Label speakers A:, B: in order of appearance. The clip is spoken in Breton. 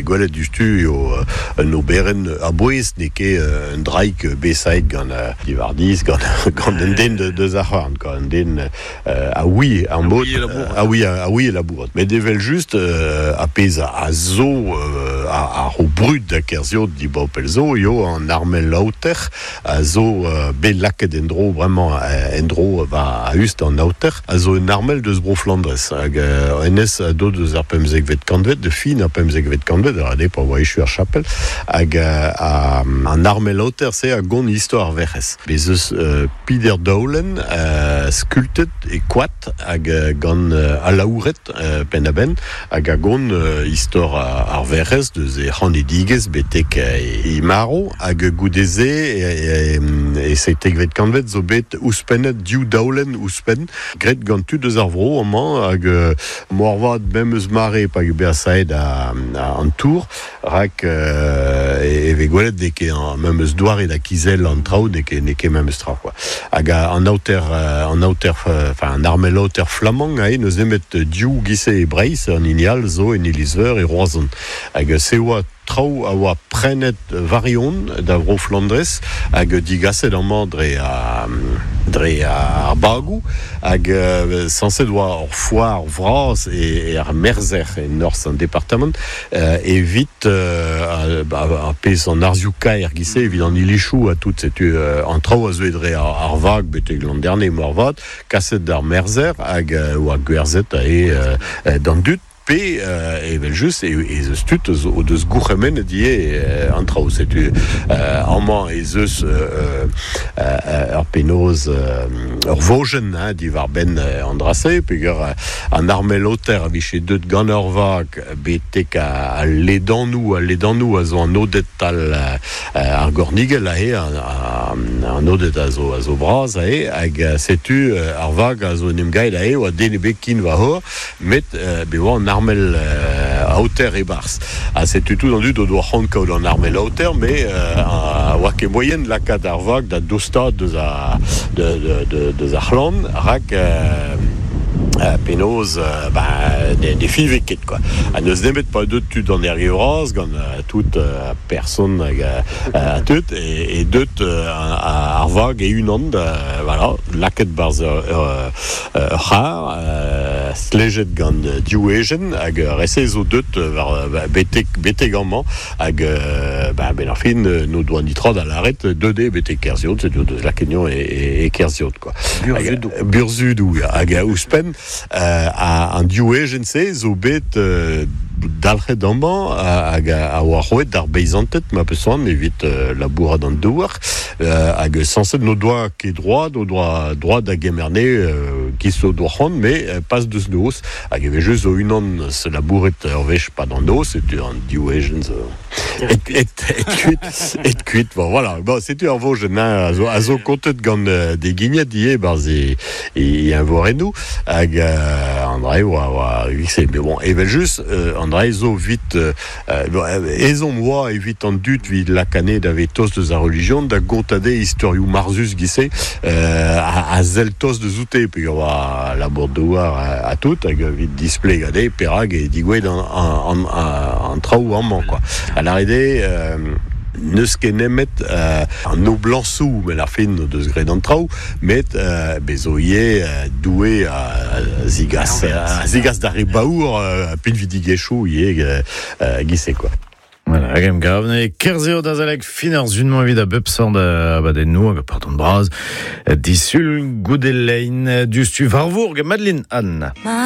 A: Gwelet diouzhtu eo un oberenn a-bouez, n'eo ket un draig besaet gant diwar-dizh gant gant un den deus ar c'horn, quoi, un den a oui ar mod, a oui a oui labourat. Met evel-just ar pezh a zo a ro brud da Kerziot dibaopel zo eo an armel aoter a zo bet lakaet en-dro bremañ en-dro war a-us d'an aoter, a zo un armel deus Bro-Flandrez hag hennezh a deu deus ar pemzekvet kantved, de fin ar pemzekvet kantved, a pa oa echu ar chapel, hag an armel aoter-se a gont istor ar Werc'hez. Bez eus peder daolenn skultet e koad hag gant alaouret penn-da-benn, hag a gont istor ar Werc'hez deus he c'hanedigezh betek he marv, hag goude-se e seitekvet kantved zo bet ouzhpennet div daolenn ouzhpenn graet gant tud eus ar vro amañ hag moarvat memes mare pa eo bet asaet an tour rak e vez gwelet n'eo ket ar memes doare da kizellañ an traoù n'eo ket n'eo ket memes tra quoi hag an aoter an aoter enfin an armel aoter flamank aze n'eus nemet div giz-se e Breizh an hini all zo en iliz-veur e Roazhon hag se oa Traoù a oa prenet war-eeun da Vro-Flandrez hag digaset amañ dre dre ar bagoù hag sañset oa ur foar vras er Merzher e norzh an departamant evit ar pezh an arzioù-kaer giz-se evit an ilizoù ha tout setu an traoù a zeue dre ar vag betek Landerne moarvat kaset d'ar Merzher hag oa gwerzhet aze d'an dud. Pe, evel-just, ez eus tud o deus gourc'hemennet ivez an traoù. Setu amañ ez eus ur penaos, ur vojenn diwar-benn an dra-se, peogwir an armel-aoter a vije deuet gant ur vag betek al ledanoù, al ledanoù a zo an Oded tal ar gornigell aze, an Oded a zo a zo bras aze, hag setu ar vag a zo en em gaet aze, oa den ebet ken war-c'horre. Met be oa an armel aoter e-barzh. Ha setu tout an dud o doa c'hoant kaout an armel aoter, met a oa ket moaien lakaat ar vag da dostaat deus ar deus ar c'hlann, rak penaos ne fiñve ket quoi. Ha n'eus nemet pa deut tud an Erge Vras gant tout person hag tud e deut ar vag e-unan da voilà lakaet 'barzh ur Ur c'harr stlejet gant div ejen hag ar re-se zo deut war betek betek amañ hag ben benn ar fin n'o doa netra da lâret deut eo betek Kerziod setu o deus lakaet anezhañ e Kerziod quoi.
B: Burzhudoù.
A: Burzhudoù ya hag ouzhpenn an div ejen-se zo bet dalc'het amañ hag a oa roet d'ar beizanted ma peus c'hoant evit labourat an douar hag sañset n'o doa ket droad o doa droad da gemer anezhe giz o doa c'hoant met pas deus noz hag evel-just zo unan se labouret ur wech 'pad an noz setu an div ejen zo et, et, et kuit et kuit bon voilà bon setu ar vojenn hein, a zo, a zo kontet gant des guignettes ivez 'barzh e, e eñvorennoù hag an dra oa oa mais bon evel-just an dra zo 'vit Ezhomm oa evit an dud evit lakaat da vez tost deus ar relijion da gontañ dezhe istorioù marzhus giz-se a sell tost deus oute peogwir oa labour-douar ha tout hag evit displegañ dezhe perak eo digouezhet an traoù amañ quoi. Da lâret eo n'eus ket nemet an noblañsoù 'benn ar fin o deus graet an traoù Met bez zo ivez Doue a zigas, a zigas d'ar re baour pinvidigezhioù ivez giz-se quoi.
C: Voilà, hag em gav ne kerzheo da zalek fin ar sun-mañ evit a bep sort abadennoù hag pardon bras disul goude lein diouzhtu war vourg Madeline Anne.